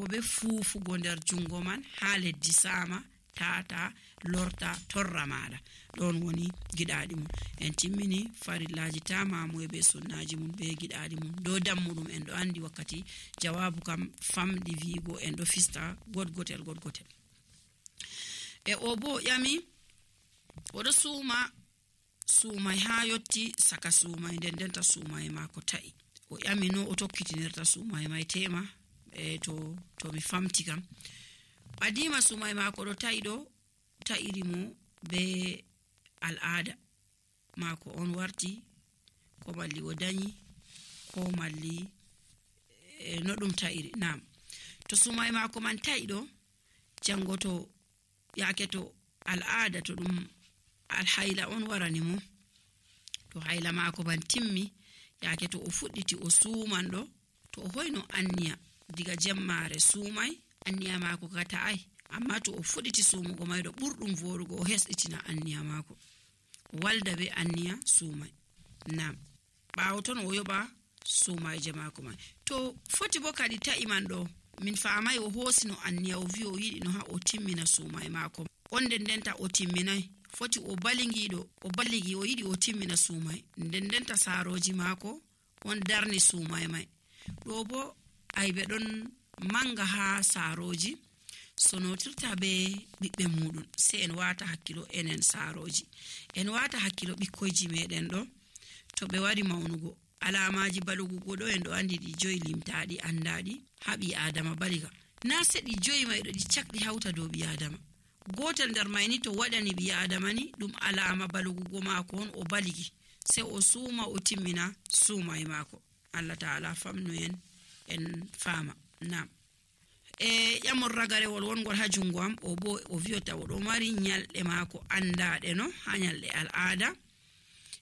be fuufugo nder jungo man ha leddi sama tata lorta torra maada. Don woni gidaadi mun. En timmini farillaji tamamu be sunnaji mun be gidaadi mun do dammudum en do andi wakkati jawabu kam famdi vigo en do fista godgotel. E obo yami odo sumai ha yotti saka sumai dendenta sumai mako ta'i. O yami no o tokkitinirta sumai mai tema to mi famti kam. Adima sumai mako do ta'iri mo be al'ada mako on warti ko malli o danyi ko malli no dum ta'iri. Nam to sumai mako man ta'ido jangoto yake to al'ada to dum alhaila on warani mo to haila mako ban timmi yake to o fudditi o sumando to o hoyno anniya diga jemmare sumai anniya mako ka ta'ai. Amma to o fudditi sumugo maydo burdum vorugo o hesditina anniya mako walda be anniya sumai. Nam baawo ton o yoba sumai je mako mai to foti bo kadi ta'i man do min faamai o hosino anniya o vi o yidi no ha o timmina sumai mako on dendenta o timminai. Foti o balligi o yidi o timmina sumai dendenta saroji mako on darni sumai mai. Do bo aybe don manga ha saroji sonotirta be bibbe mudun se en wata hakkilo enen saroji en wata hakkilo bikkoji meden do to be wari maunugo alamaji balugo do en do andi di joyi limtaadi andadi habi adama baliga na sedi joyi mai do di cakdi hauta do bi adama gotel dar mayni to wadani bi adama ni dum alama balugo mako on o baligi se o suma o timmina suma e mako. Allah taala famnu en fama. Nam yamor ragare wongol ha jungo am o bo o viota o do mari nyalde mako andaade no ha nyalde al'ada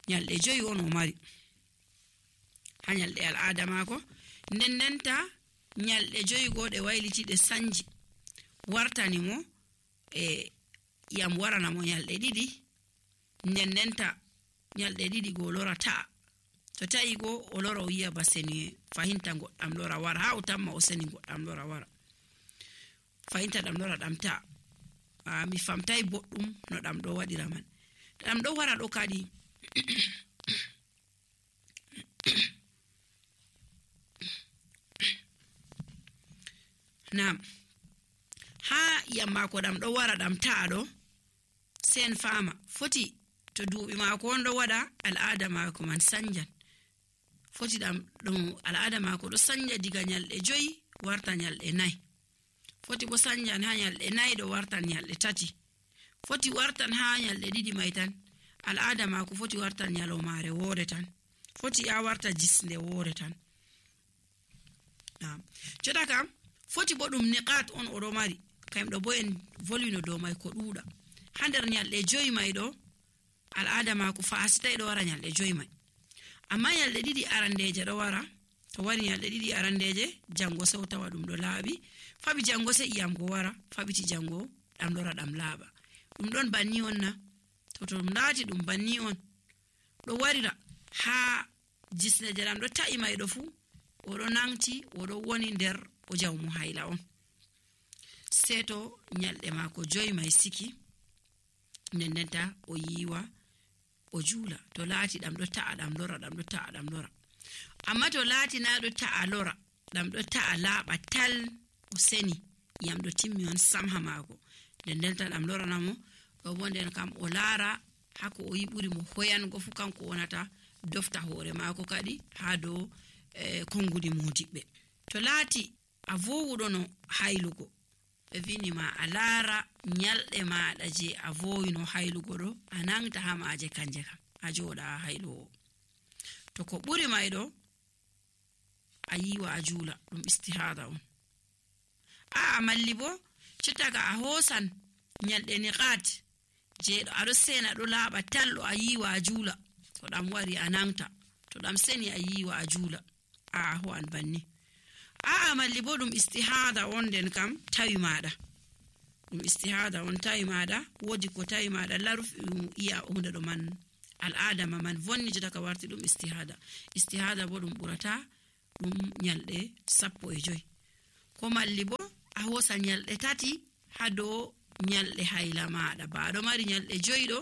nyalde joyi on o mari ha nyalde al'ada mako ndendenta nyalde joyi gode wayliti de sanji wartani mo yam warana mo nyalde didi ndendenta nyalde didi go lora ta to ta'i go o lora o yiya baseni fahinta goddam lora wara ha o tamma o seni goddam lora wara fahinta dam lora dam ta mi famtai boddum no dam do wadira man dam do wara do kadi nam ha yamma ko dam do wara dam ta do sen fama foti to duubi mako on do wada al'ada mako man sanjan foti dam dum al'ada mako do sanja diga nyalde joyi warta nyalde nay foti bo sanjan ha nyalde nay do warta nyalde tati foti wartan ha nyalde didi mai tan al'ada mako foti warta nyalo mare wore tan foti ya warta jisnde wore tan. Nam joda kam foti bo dum niqat on o do mari kamdo bo en volino do mai ko duuda hander nyalde joyi mai do al'ada mako fa asita do wara nyalde joyi mai. Amma nyalde didi arandeje do wara to wari nyalde didi arandeje jango sewta wadum do laabi fabi jango se iyam go wara fabiti jango dam lora dam laaba dum don banni on na to dum laati dum banni on do warira ha jisne jaram do ta'i mai do fu o do nangti o do woni nder o jawmu hayla on seto nyalde mako joyi mai siki nendenta o yiwa o jula to laati dam do ta'a dam lora dam do ta'a dam lora. Amma to laati na do ta'a lora dam do ta'a laaba tal o seni yam do timmi on samha mako dendenta dam lora namo do wonden kam o lara hako o yiburi mo hoyan go fu kanko wonata dofta hore mako kadi ha do kongudi modibbe. To laati a vowudo no haylugo be vini ma alara nyalde maada je a voyino haylugo do anangta ha maaje kanje kam a joda haylo to ko buri mai do ayiwa a jula dum istihada on a malli bo citaga a hosan nyalde niqat je do ado sena do laaba tallo ayiwa a jula to dam wari anangta to dam seni ayiwa a jula a ho an banni a malli bo dum istihada on den kam tawi maada dum istihada on tawi maada wodi ko tawi maada laruf iya hunde do man al'ada man vonni jota ka warti dum istihada bo dum burata dum nyalde 15 ko malli bo a hosa nyalɗe 3 ha dow nyalɗe hayla maɗa. Baɗo mari nyalɗe 5 ɗo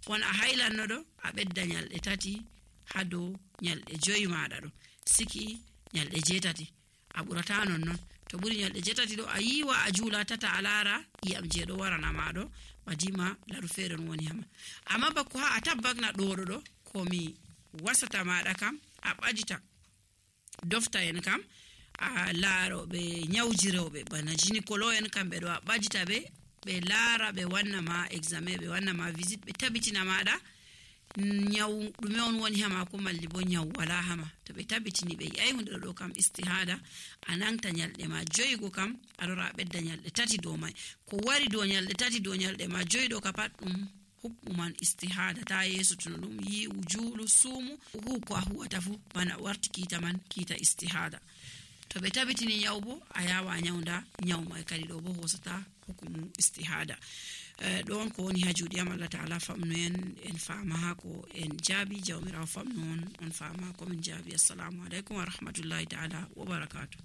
won a haylanno ɗo, a ɓedda nyalɗe 3 ha dow nyalɗe 5 maɗa ɗo, siki nyalɗe 8 a ɓurata non. To ɓuri nyalɗe 8 ɗo a yiwa a juula tata a laara iyam je ɗo warana maɗo badima laru feere non woni hama. Amma bako ha a tabbakna ɗoɗo ɗo komi wasata maɗa kam a ɓajita dofta en kam a laaroɓe nyawjiroɓe bana gynécolo en kamɓe ɗo a ɓajita ɓe laara ɓe wanna ma examen, ɓe wanna ma visite, ɓe tabitina maɗa nyaw ɗume on woni hama ko malli bo nyaw wala hama. To ɓe tabitini ɓe yi'ai hunde ɗo kam istihada, a nanta nyalɗe ma 5 go kam a lora a ɓedda nyalɗe 3 dow mai. Ko wari dow nyalɗe 3 dow nyalɗe ma 5 ɗo ka pat ɗum hukmuman istihada. Ta yesutuno ɗum yi'u juulu suumu hu ko a huwata fu bana warti kiita man kiita istihada. To ɓe tabitini nyaw bo a yawa a nyawnda nyaw mai kadi ɗo bo hosata hukumu istihada. Ɗon ko woni ha juuɗe am. Allah ta'ala famnu en faama ha ko en jaabi. Jawmirawo famnu on faama ko min jaabi. Assalamu alaikum wa rahmatullahi ta'ala wa barakatuh.